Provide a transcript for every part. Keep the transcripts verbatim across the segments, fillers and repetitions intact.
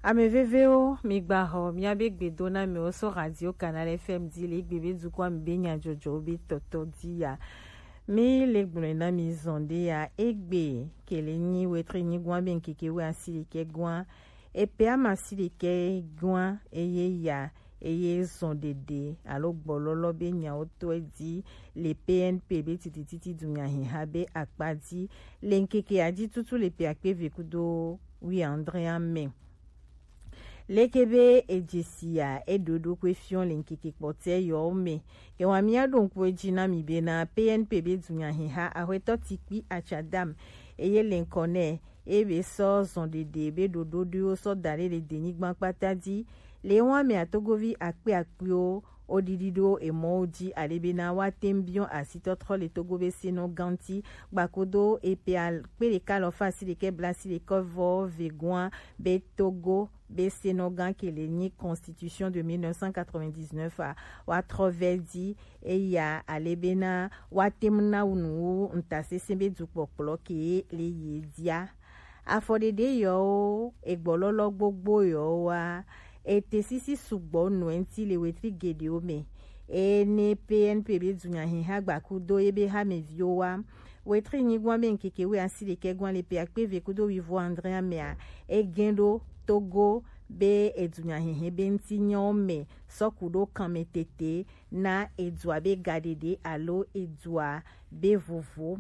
Ame vevewo, mi gba xɔ miabe gbedonamiwo so Radio Canal F M di le egbe be dukɔa me be nyajɔjɔwo be tɔtɔ di ya. Mi le gblɔe na mi zɔn ɖe ya egbe kele nyi wetri nyigɔa be ŋkeke we asi ɖekɛ gɔa. Epe ama asi ɖekɛ gɔa eye ya eye zɔn ɖeɖe alo gbɔlɔlɔ be nyawo tɔe di le P N P be titititi dunyahiha be akpa di le ŋkeke ya di tutu le pe akpe ve kudo wi andre ame. Leke be ejesi ya eɖo ɖokui fiɔ le ŋkeke kpɔtɛ yɔwo me. Ke wa mia ɖo ŋku edzi na mi be na P N P be dunyahiha ahwetɔ tikpi atsadam eye le ŋkɔ nɛ ebe sɔ zɔn ɖeɖe be ɖoɖo ɖowo sɔ da ɖe le denyigba kpata di. Le wa me atogovi akpe akpewo wo ɖiɖi ɖo emɔwo dzi ale be na wa tem biɔ asitɔtrɔ le Togo be senɔ ganti gbakodo epe akpe ɖeka alɔfa asi ɖekɛ bla asi ɖekɛ vɔ ve gɔa be Togo be senɔgã ke le nyi Constitution de mille neuf cent quatre-vingt-dix-neuf a wa trɔ vɛ di eya ale be na wa tem na nu wu ŋutasesẽ be dukpɔkplɔ ke le ye dia. Afɔɖeɖe yɔwo egbɔlɔlɔ gbogbo yɔwo wa ete sisi sugbɔ nɔ ŋti le wetri geɖewo me. Eye ne P N P be dunyahiha gbakudo ye be hameviwo wa wetri nyigɔa be ŋkeke we asi ɖekɛ gɔa le pe akpe ve kudo wivo andre amea egɛn ɖo Togo be edunyahihe be ŋti nyɔwo me sɔ ku ɖo kanmetete na edua be gaɖeɖe alo edua be vovo.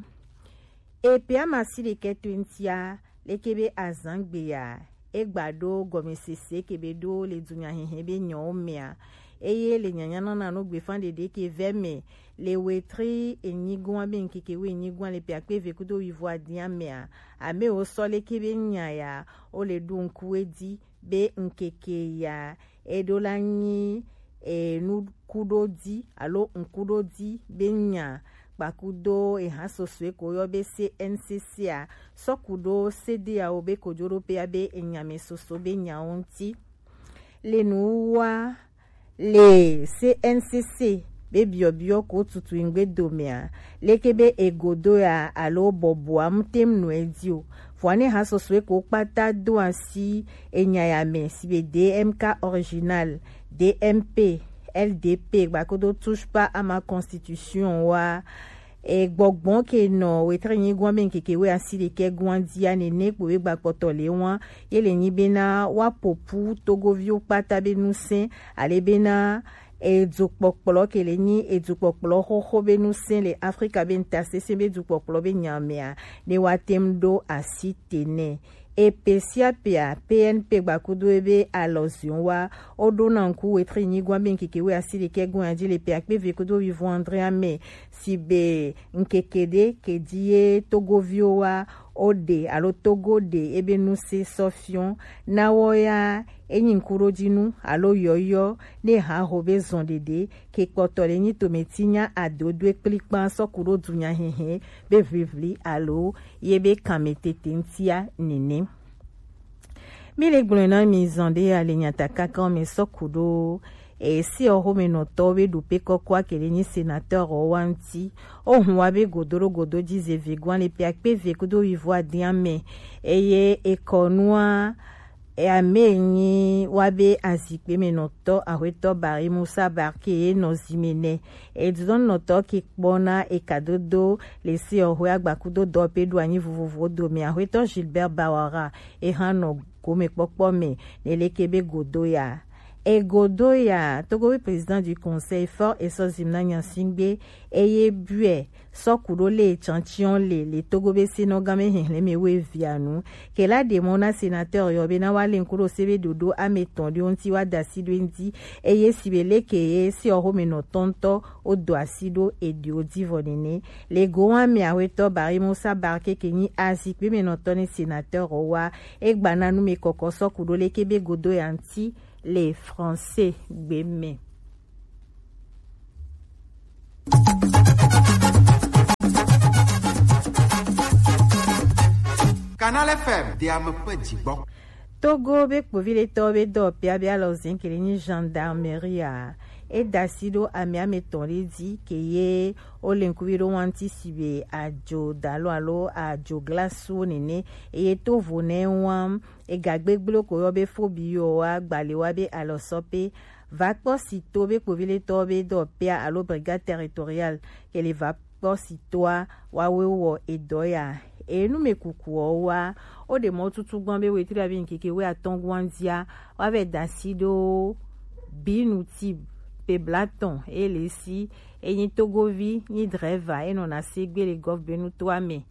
Epe ama asi ɖekɛ to ŋtia leke be azangbe ya egba ɖo gɔmesese ke be ɖo le dunyahihe be nyɔwo mea. Eye le nyanyanana no gbefa ɖeɖe ke vɛ me le wetri enyigɔa be ŋkeke we enyigɔa le pe akpe ve kudo wivo adia mea, amewo sɔ leke be nya ya wo le ɖo ŋku edi be ŋkeke ya eɖo la nyi enukuɖodi alo ŋkuɖodi be nya kpakudo eha sosoe ko yɔ be C N C C a sɔ ku ɖo C D A O be kojo ɖo pea be enyame soso be nyawo ŋti. Le nuwua le C N C C be biɔbiɔ ko tutu ŋgbe domea leke be egodo ya alo bɔbɔa mu tem nɔ edi o. Vɔa ne ha sosoe ko kpata do asi enya ya me si be D M K original, D M P, L D P gbakodo touche pas à ma constitution wa. E gbɔgbɔn ke nɔ wetri nyigɔa be ŋkeke we asi ɖekɛ gɔa dia nene kpo be gbakpɔtɔ le wa ye le nyi be na wa popu togoviwo kpata be nusẽ ale be na edukpɔkplɔ ke le nyi edukpɔkplɔ xoxo be nusẽ le Afrika be ŋutasesẽ be dukpɔkplɔ be nyamea ne wa tem ɖo asi te nɛ. Epe sia pea P N P gbakudo ebe alɔziɔn wa wo ɖo na ŋku wetri nyigɔa be ŋkeke we asi ɖekɛ gɔa dzi le pe akpe ve kudo wivo andre ame si be ŋkeke ɖe ke dzi ye togoviwo wa wo ɖe alo Togo ɖe ebe nusẽ sɔ fiɔ na wɔ ya enyi ŋkuɖodzinu alo yɔyɔ ne ha ho be zɔn ɖeɖe ke kpɔtɔ le nyi tometinya adodoe kplikpa sɔ ku ɖo dunyahihe be vivli alo ye be kanmetete ŋtia nene. Mi le gblɔe na mi zɔn ɖe ya le nyatakaka me sɔ ku ɖo esi ɔxomenɔtɔwo be ɖope kɔkɔ ake le nyi senateur wa ŋti. Ohun wa be godo ɖo godo dzi ze vegɔa le pe akpe ve kudo wivo adia me eye ekɔnua ame nyi wa be azikpe me nɔtɔ ahwetɔ Bari Musa Barke ye nɔ zime nɛ. Edudɔnnɔtɔ ke kpɔ na ekadodo le se ɔhwe agbakudo dɔ pe ɖo anyi vovovo dome ahwetɔ Gilbert Bawara eha nɔ gomekpɔkpɔ me ne leke be godo ya. Egodo ya Togo be président du conseil fort esɔ zimna nyasingbe eye buɛ sɔ ku ɖo le etsɔtsiɔ le le Togo be senɔgã me hihlɛ me wo evia nu. Ke la ɖe mɔ na senateur yɔ be na wa le ŋku ɖo se be ɖoɖo ame tɔn ɖe ŋti wa da si ɖo ŋti eye si be leke ye se ɔxome nɔ tɔntɔ wo do asi ɖo eɖiwo dzi vɔ nene. Le go wa me awetɔ Bari Musa Barke ke nyi azikpe me nɔtɔ ne senateur wa egba na nu me kɔkɔ sɔ ku ɖo leke be godo ya ŋti le français gbe me. Canal F M de ame ƒe dzigbɔ. Togo be kpoviɖetɔwo be dɔwɔƒea be alɔzẽ ke le nyi gendarmerie a, eda asi ɖo ame ame etɔ̃ ɖe dzi ke ye wo le ŋkuvi ɖo wa ŋti si be adzo dalo alo adzo glasuwo nene eye to vo nɛ wa Ega gbegblẽ ko yɔ be fo bi yɔ wa gbale wa be alɔsɔ pe va kpɔ si to be kpoviletɔ be dɔ pea alo brigade territoriale ke le va kpɔ si toa wa we wɔ edɔ ya. Enu me kuku ɔ wa o ɖe mɔ tutu gbɔn be wetri abi nkeke we atɔn guan dia wa vɛ dasi ɖo binu ti pe blatɔn e le si e nyi togovi nyi drɛva e nɔ na se gbe le gɔf benu toa me.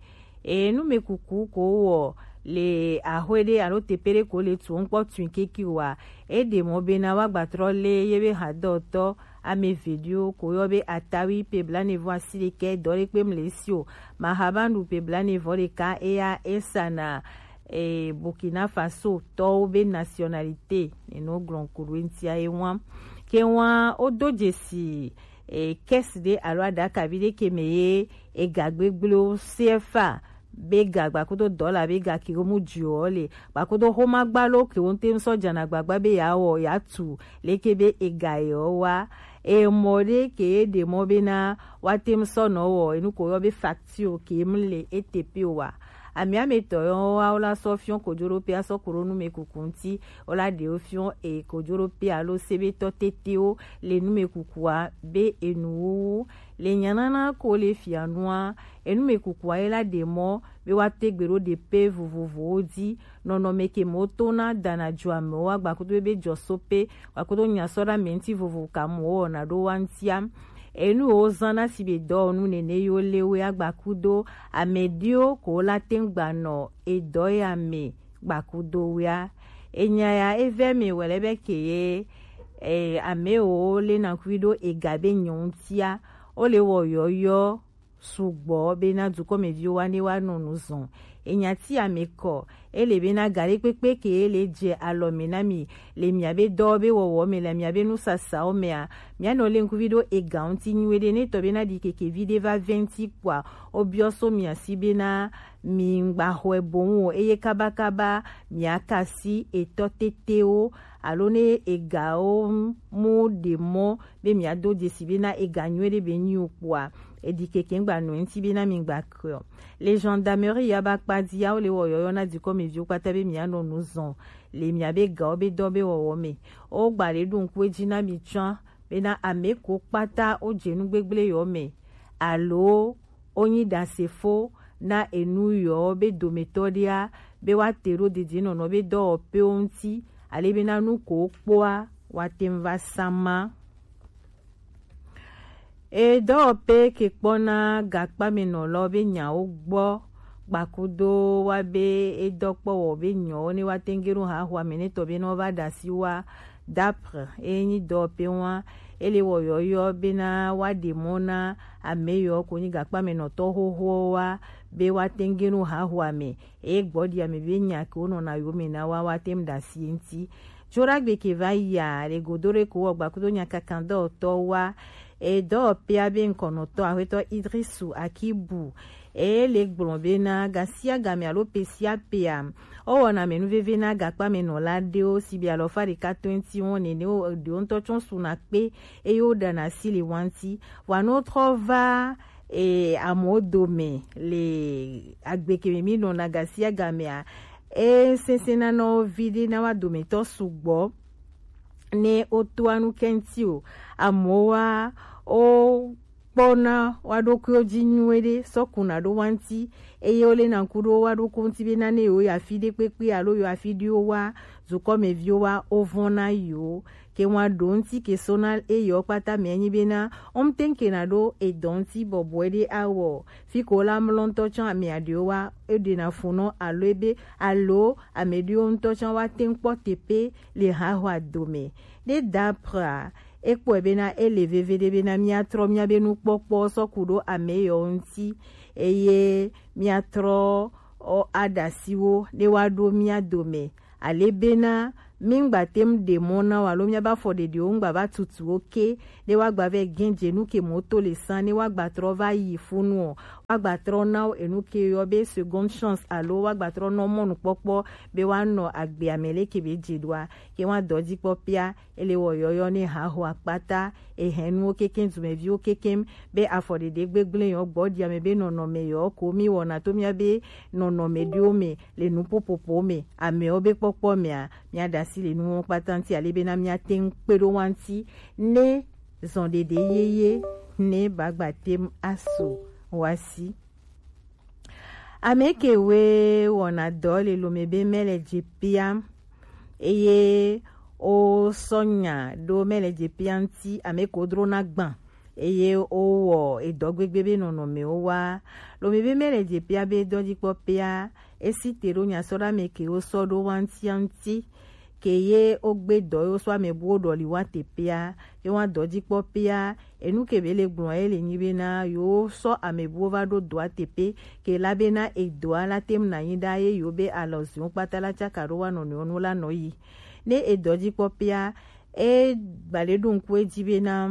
Enu me kuku ko wɔ le ahwe ɖe alo tepe ɖe ko le tu ŋkpɔ tui keke wa e ɖe mɔ be na wa gbatrɔ le ye be hadɔtɔ ame eve ɖewo ko yɔ be atawi pe blanevɔ asi ɖekɛ dɔ ɖe kpe mle si o. Mahabandu pe blanevɔ ɖeka eya esa na e, Burkina Faso tɔwo be nationalité neno gblɔn ko ɖo ŋtia ye wa ke wa o do dzesi e, kɛsi ɖe alo aɖakavi ɖe ke me ye ega gbegblẽwo C F A be ga gbakodo dɔla be ga ke wo mu dziɔ le gbakodo xomagba lo ke wo ŋte ŋsɔ dzana gbagba be ya wɔ ya tu leke be ega yɔ wa emɔ ɖe ke ye ɖe mɔ be na wa te ŋsɔ nɔ wɔ enu ko yɔ be facture ke mu le ete pe wa. Amiametɔ yɔ wa wo la sɔ fiɔ kojoɖo pe asɔ kuro nu me kuku ŋti wo la ɖewo fiɔ e kojoɖo pe alo sebetɔ tetewo le nu me kukua be enu wuwu le nyanana ko le fia nua enu me kukua ye la ɖe mɔ be wa te gbe ɖo ɖe pe vovovowo dzi nɔnɔme ke mo to na dana jo amewo agbakudo be jɔ so pe gbakudo nya sɔ ɖe ame ŋti vovo ka mo wɔna ɖo wa ŋtia. Enu wo zã na si be dɔwɔnu nene yo le we agbakudo ame ɖewo ko la te ŋgba nɔ edɔ ya me gbakudo wea. Enya ya evɛ me wɛlɛ be ke ye e, ame wo le na kui ɖo ega be nyɔ ŋtia wo le wɔ yɔyɔ sugbɔ be na dukɔmeviwo wa ne wa nɔ nu zɔn. Enya ti ame kɔ e le be na ga ɖe kpekpe ke e le dze alɔ me na mi le mia be dɔ be wɔwɔ me le mia be nusasawo mea mia nɔ le ŋkuvi ɖo ega ŋti nyuie ɖe ne tɔ be na ɖi keke vi ɖe va vɛ ŋti kpɔa wo biɔ so mia si be na mi ŋgba xɔe boŋ o eye kabakaba mia kasi etɔ tetewo alo ne egawo mu ɖe mɔ be mia do dzesi be na ega nyuie ɖe be nyi o kpɔa eɖi keke ŋgba nɔ ŋti be na mi ŋgba kɔ. Le gendarmerie ya ba kpa di ya wo le wɔ yɔyɔ na dukɔmeviwo kpata be mia nɔ nu zɔn le mia be gawo be dɔ be wɔwɔ me. Wo gba le ɖo ŋku edzi na mi tsã be na ame ko kpata wo dze nu gbegble yɔ me alo wo nyi ɖasefo na enu yɔ be dometɔ ɖea be wa te ɖo dedienɔnɔ be dɔwɔƒewo ŋti ale be na nu ko wo kpɔa wa te ŋu va sama. E dɔwɔƒe ke kpɔna gakpamenɔlawo be nyawo gbɔ gbakudo wa be e dɔ kpɔ wɔ be nyɔwo ne wa tengenu ha xɔ ame ne tɔ be ne wa va ɖe asi wa dapre e nyi dɔwɔƒe wa e le wɔ yɔyɔ be na wa ɖe mɔ na ame yɔ ko nyi gakpamenɔtɔ xoxo wa be wa tengenu ha xɔ ame e gbɔ ɖi ame be nya ke wo nɔna yo me na wa wa tem ɖe asi ŋti. Tso ɖagbe ke va yia le godo ɖe ko wɔ gbakudo nya kankan dɔwɔtɔ wa e dɔwɔƒea be ŋkɔnɔtɔ axwetɔ Idrisu Akibu e le gblɔ be na gasiagame alo pesiapea wo wɔna menu veve na gakpamenɔla ɖewo si be alɔfa ɖeka twenty wɔn nene wo ɖewo ŋutɔ tsɔ suna kpe eye wo ɖana asi le wa ŋti wa no trɔ va e amewo dome le agbe ke me mi nɔna gasiagamea e sese na nɔ vi ɖe na wa dometɔ sugbɔ ne wotoa nu kɛŋti o amewo wa wo kpɔna wa ɖokuiwo dzi nyuie ɖe sɔ kuna ɖo wa ŋti eye wo le na ŋku ɖo wa ɖoko ŋti be na ne yewo yi afi ɖe kpekpe alo yewo afi ɖiwo wa dukɔmeviwo wa wo vɔna yewo ke wa ɖo ŋti ke so na eyewo kpata mɛ nyi be na wo ŋte ŋke na ɖo edɔ ŋti bɔbɔe ɖe awɔ fi ko la mlɔ ŋutɔ tsã ame aɖewo wa eɖena fu nɔ alo ebe alo ame ɖewo ŋutɔ tsã wa te ŋu kpɔ teƒe le haxɔa dome. Ɖe daprea ekpɔe bena ele veve ɖe bena míatrɔ míabe nukpɔkpɔ sɔ ku ɖo ame yewo ŋuti eye míatrɔ aɖasiwo ɖe woaɖo mía dome ale bena Mi ŋgba te ŋu ɖe mɔ na wo alo miabe afɔɖeɖewo ŋgba va tutu wo ke, ne woagba vɛ gɛn dze nu ke mɔ to le san, ne woagba trɔ va yi funu o, woagba trɔ na wo enu ke yɔ be seconde chance alo woagba trɔ nɔ mɔnukpɔkpɔ be woanɔ agbea me leke be dze ɖoa, ke woa dɔ dzi kpɔ pia, ele wɔ yɔyɔ ne haho akpata, ehɛnuwo kekeŋ, dumeviwo kekeŋ, be afɔɖeɖe gbegblẽ yɔ gbɔ ɖi ame be nɔnɔme yɔ ko mi wɔna to miabe nɔnɔme ɖewo me le nuƒoƒoƒo me, amewo be kpɔkpɔ mea, miaɖe asi le nuwo kpata ŋuti ale bena miate ŋu kpe ɖo wa ŋuti ne zɔnɖeɖe yeye ne bagba tem asu wa si. Ame kewoe wɔna dɔ le lome be mele dze pia, eye wosɔ nya ɖo mele dze pia ŋuti, ame ko drona gbã, eye wowɔ edɔ gbegbe be nɔnɔmewo wa. Lome be mele dze pia be dɔdzikpɔ pia, esi te ɖo nyasɔɖame kewo sɔ ɖo wa ŋutia ŋuti, ke ye wogbe dɔ ye wosɔ ame buwo ɖɔli wa te pia, ye wa dɔdzikpɔ pia, enu ke be le gblɔ ye le nyi bena yewo sɔ ame buwo va ɖo dɔa teƒe, ke la bena edɔa la tem na nyi ɖa ye yewo be alɔziwo kpata la tsaka ɖo wa nɔnɔewo nu la nɔ yi. Ne edɔ dzi kpɔ pea, e gba le ɖo ŋku edzi bena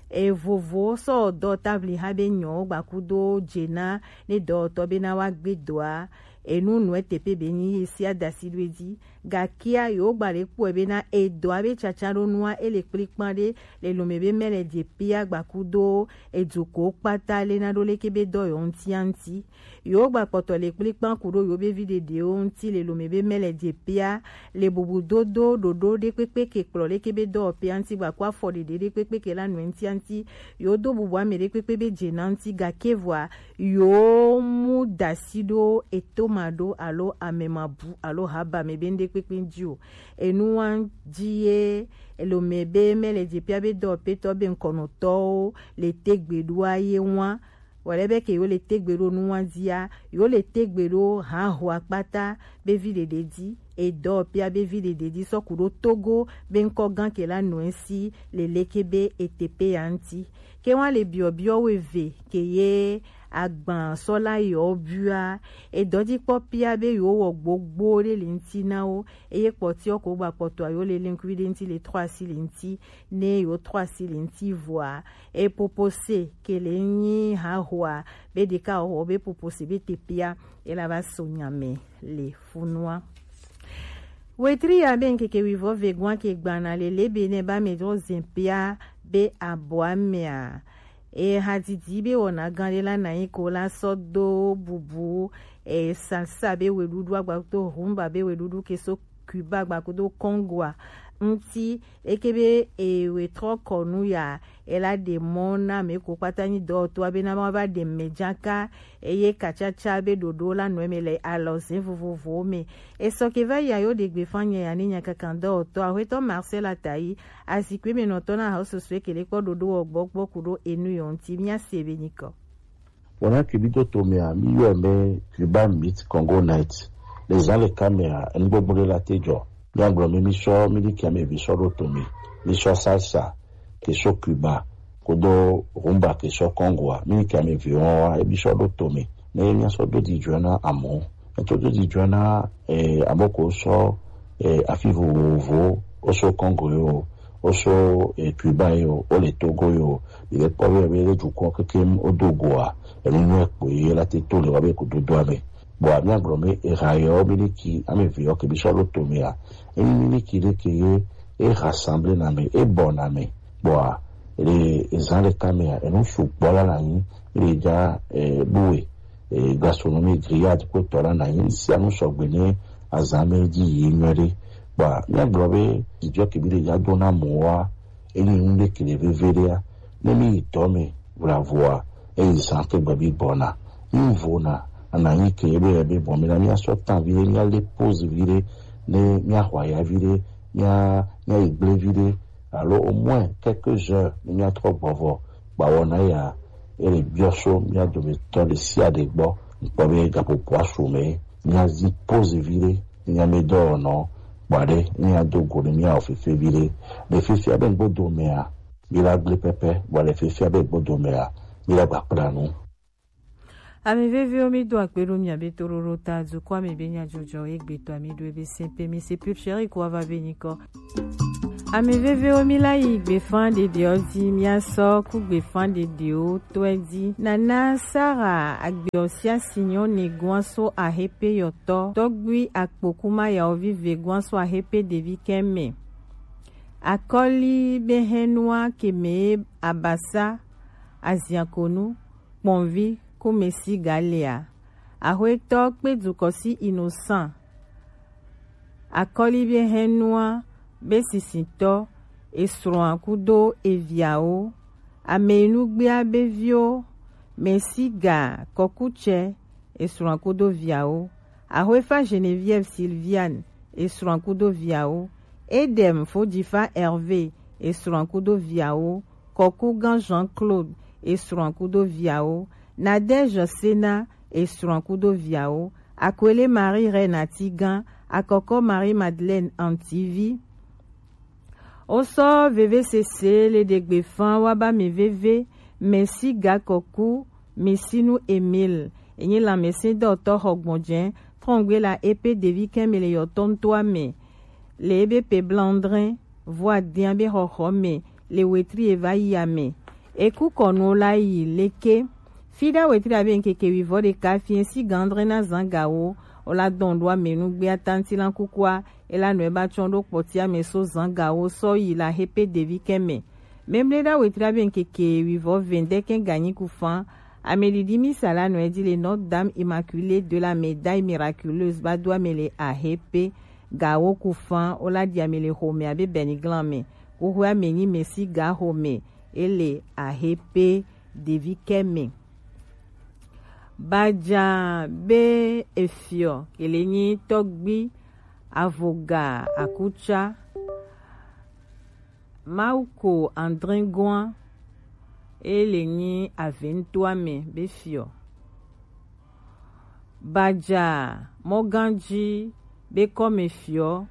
evovo sɔ dɔ tabli ha be nyɔ gba kudo dze na ne dɔwɔtɔ bena wa gbe dɔa, enu nɔe teƒe be nyi ye sia da asi ɖo edzi. Gakea, yewo gba le kpɔe bena edɔa be tsatsa ɖo nua ele kplikpan ɖe le lome be mele dze pia gba kudo eduko kpata le na ɖo leke be dɔ yɔ ŋutia ŋuti. Yewo gba kpɔtɔ le kplikpan ku ɖo yewo be vi ɖeɖewo ŋuti le lome be mele dze pia le bubudodo ɖoɖo ɖekpekpe ke kplɔ leke be dɔwɔƒea ŋuti gba ku afɔ ɖeɖe ɖekpekpe ke la nɔe ŋutia ŋuti. Yewo do bubu ame ɖekpekpe be dze na ŋuti gake vɔa yewo mu da asi ɖo etoma ɖo alo amemabu alo haba me be ŋɖekpekpe ŋuti o. Enuwa dzi ye elome be mele dze pia be dɔwɔƒetɔ be ŋkɔnɔtɔwo le tegbe ɖoa ye wa. Wòle be ke yewo le tegbe ɖo nuwa dzia, yewo le tegbe ɖo haho akpata be vi ɖeɖe dzi, edɔ pia be vi ɖeɖe dzi sɔ ku ɖo Togo be ŋkɔ gã ke la nɔe si le leke be eteƒe ya ŋuti. Ke wa le biɔbiɔ wo eve ke ye agban sɔ la yɔ bua, edɔ dzi kpɔ pia be yewo wɔ gbogbo ɖe le ŋuti na wo, eye kpɔtiɔ ko gba kpɔtɔa yewo le leŋkui ɖe ŋuti le trɔ asi le ŋuti, ne yewo trɔ asi le ŋuti vɔa, e popose ke le nyi hahoa be ɖeka wɔ be popose be tepea ela va so nya me le funua. Wetri ya be ŋkeke wivɔ ve gwa ke gbana le lebe ne ba me dro zempea be abɔa mea. E hadidi be wɔna gã ɖe la na yi ko la sɔ do bubu e salsa be weɖuɖu agba to humba be weɖuɖu ke so Cuba gba kudo Congoa ŋuti. Eke be e we trɔ kɔ nu ya, e la ɖe mɔ na ame ko kpata nyi dɔwɔtɔa be na ma va ɖe mɛ dzaka, eye katsatsa be ɖoɖo la nɔ eme le alɔze vovovowo me. E sɔ ke va yi a yo ɖe gbefa nye ya ne nya kankan dɔwɔtɔ Aƒetɔ Marcel Atayi, azikpui me nɔtɔ na hawo susue ke le kpɔ ɖoɖo wɔ gbɔ gbɔ ku ɖo enu yɔ ŋuti mía se be nyikɔ. Wɔna ke mi do to mea, mi yɔe be Cuban Meat Congo Night. Le zã ɖeka mea, enugbogbo ɖe la te dzɔ. Míagblɔ mi, mi sɔ miliki ame eve sɔ ɖo to me. Mi sɔ salsa ke sɔ Cuba kodo rumba ke sɔ Congoa. Miliki ame eve wɔn wa, ebi sɔ ɖo to me. Ne mi sɔ do di dzɔ na amɔ. Eto do di dzɔ na, eh, ame ko sɔ, eh, afi vovovo, o sɔ Congo yo, o sɔ, eh, Cuba yo, o le Togo yo, mi le kpɔ be, be le dukɔ kekem o do goa, enu nyuie kpo ye la te to le wa be ko dodo ame. Bɔn ami agblɔ mi, eha yɔ miliki, ame ve yɔ ke mi sɔ ɖo to mea, enyi miliki ɖe ke ye, e rassemble na me, e bɔ na me. Bɔa, le ezã ɖeka mea, enu sugbɔ la na nyi, le dza, eh, ɖoe. Eh, gastronomie grillade kpotɔ la na nyi sia nu sɔgbe ne azã me dzi yi nyuie ɖe. Kpa míagblɔ be dzidzɔ ke mi le dza do na mɔ wa, enyi nu ɖe ke le veve ɖea, ne mi yi dɔ me vlavoa, eyi zã ke gbe bi gbɔna. Mi vona, ana nyi ke be, be bɔn mi na mia sɔ tan vi ɖe, mia le pause vi ɖe, ne mia hwa ya vi ɖe, mia, mia yi gble vi ɖe, alo au moins quelques heures ne mia trɔ gbɔ vɔ. Kpa wɔna ya, ele biɔ so mia dometɔ ɖe sia ɖe gbɔ, ŋkpɔ be gaƒoƒoa su me, mia zi pause vi ɖe, mia me dɔ nɔ, kpa ɖe, mia do go ne mia wɔ fefe vi ɖe. Le fifia be ŋgbo do mea, mi la gble pɛpɛ, bɔ le fifia be ŋgbo do mea, mi la gba kpla nu. Ame vevewo, mi do akpe ɖo mia be toɖoɖo ta dukɔa me be nyajɔjɔ egbe tɔ mi ɖo ebe se pe mi se pure chérie ko ava be nyikɔ. Ame vevewo, mi la yi gbefan ɖeɖewo di, mia sɔ ku gbefan ɖeɖewo tɔe di. Nana Sara agbeɔ sia sinyɔ ne gua so ahepe yɔtɔ tɔgbui akpokuma yawo vive gua so ahepe ɖevi kɛmɛ. Akɔli be hɛnua keme abasa aziakonu kpɔnvi kumesi galea. Ahwetɔ kpe dukɔ si Innocent. Akɔli be hɛnua be sisitɔ esrɔ̃a kudo eviawo. Ameyinu gbea be viwo. Mesiga kɔkutsɛ esrɔ̃a kudo viawo. Ahwefa Geneviève Sylviane esrɔ̃a kudo viawo. Edem Fojifa Hervé esrɔ̃a kudo viawo. Kɔkugan Jean-Claude esrɔ̃a kudo viawo. Nadège Sena esrɔ̃a kudo viawo. Akwele Marie Reine Atigan, Akɔkɔ Marie Madeleine Antivi. Wosɔ veve sese le ɖegbe fan wa ba mi veve, Mesi Gakɔku, Misinu Emile, enyi lanmɛsindɔtɔ xɔgbɔnjɛ, trɔngbe la epe ɖevi kɛmɛ le yɔtɔ ŋutɔa me, le ebe pe blandrɛ, vɔ adian be xɔxɔ me, le wetri eva yi ame. Eku kɔnu la yi leke. Fida wetri abe nkeke wivɔ ɖeka fiɛ si gandrɛ na zan gawo, o la dɔn ɖo ame nugbea tanti la kukua, e la nɔ e ba tsɔn ɖo kpɔtia me so zan gawo sɔ yi la hepe ɖevi kɛmɛ. Memle ɖa wetri abe nkeke wivɔ vɛndɛ kɛ ganyi kufan, ame ɖiɖi misa la nɔ e di le Notre Dame Immaculée de la Médaille Miraculeuse ba do ame le ahepe gawo kufan, o la di ame le xome abe bɛniglan me. Kuxwe ame nyi Mesi ga xome, e le ahepe ɖevi kɛmɛ. Baja be efiɔ kele nyi tɔgbi avoga akutsa. Mawuko Andringoa, e le nyi aventoa me be fiɔ. Baja mɔganji be kɔme fiɔ,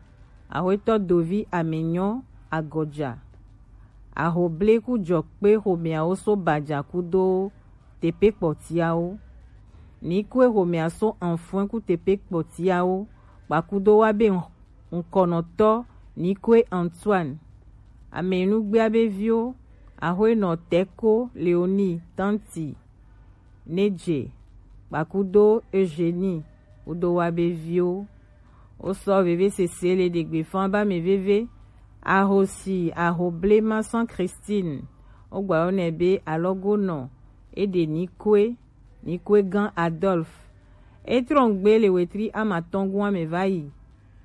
ahwetɔ dovi amenyɔ agɔja. Ahoble ku jɔkpe xomeawo so baja kudo tepe kpɔtiawo. Nikwe xomea so anfɔe ku tepe kpɔtiawo, kpakudo wa be ŋkɔnɔtɔ Nikwe Antoine. Amenugbea be viwo, ahwenɔ Teko Leonie Tanti Nedje, kpakudo Eugénie, kudo wa be viwo. Wosɔ veve sese le ɖegbe fan ba mi veve. Ahosi ahoblema sɔn Christine, wogba yɔ nɛ be alɔgonɔ, eɖe Nikwe, Nikwe gan Adolphe. Etrɔngbe le wetri amatɔngun ame va yi,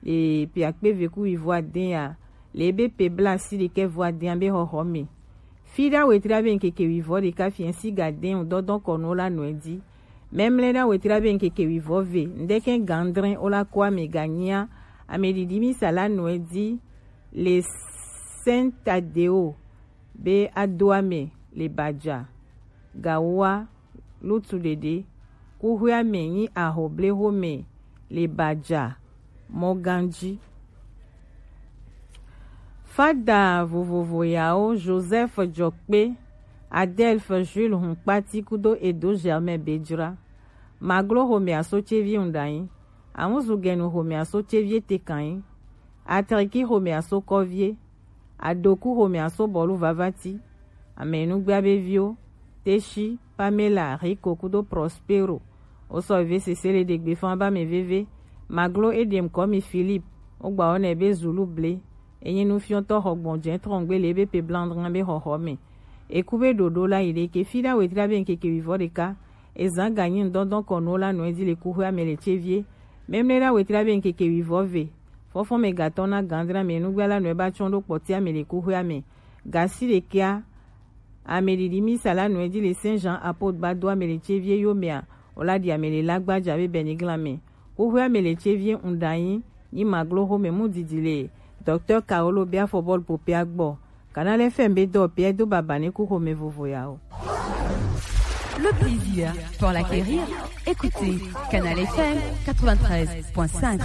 le pe akpe ve ku wivɔ adɛn ya, le ebe pe bla si ɖekɛ vɔ adɛn be xɔxɔ me. Fiɖa wetri abe ŋkeke wivɔ ɖeka fiɛ si ga dɛn dɔdɔn kɔnu la nɔ e di. Memle ɖa wetri abe ŋkeke wivɔ ve, ŋdɛkɛ gandrɛ o la ko ame ganyia, ame ɖiɖi misa la nɔ e di, le Saint Tadeo be ado ame le baja. Gawoa lutu ɖeɖe. Kuxwea me nyi ahoblexome le baja mɔganji. Fada vovovo yawo Joseph Jɔkpe, Adelphe Jules Hunkpati kudo Edo Germain Bejra. Maglo xomea so cevi ŋɖanyi. Amuzu gɛnu xomea so cevi etekanyi. Atriki xomea so kɔvie. Adoku xomea so bɔlu vavati. Amenugbea be viwo, Teshi, Pamela, Rico kudo Prospero. Wosɔ veve sese le ɖegbe fan ba mi veve. Maglo eɖem kɔmi Philippe, wogba wɔ nɛ be Zulu ble. Enyi nufiɔtɔ xɔgbɔnjɛ trɔngbe le ebe pe blandran be xɔxɔ me. Eku be ɖoɖo la yi ɖe ke fiɖa wetri abe ŋkeke wivɔ ɖeka. Ezan ganyi ŋdɔndɔn kɔnu la nɔ e di le kuxwea me le cevie. Memle ɖa wetri abe ŋkeke wivɔ ve. Fɔfɔ me gatɔ na gandra me nugba la nɔ e ba tsɔn ɖo kpɔtia me le kuxwea me. Gasi ɖekea, ame ɖiɖi misa la nɔ e di le Saint Jean Apôtre ba do ame le cevie yo mea, o la ɖi ame le la gbaja be bɛniglan me. Kuxwea me le cevie ŋɖanyi, nyi maglo xome mu didi le Docteur Carolo be afɔbɔlu popea gbɔ. Canal F M be dɔ pia do baba ne ku xome vovo ya o. Le plaisir pour l'acquérir, écoutez Canal F M quatre-vingt-treize point cinq.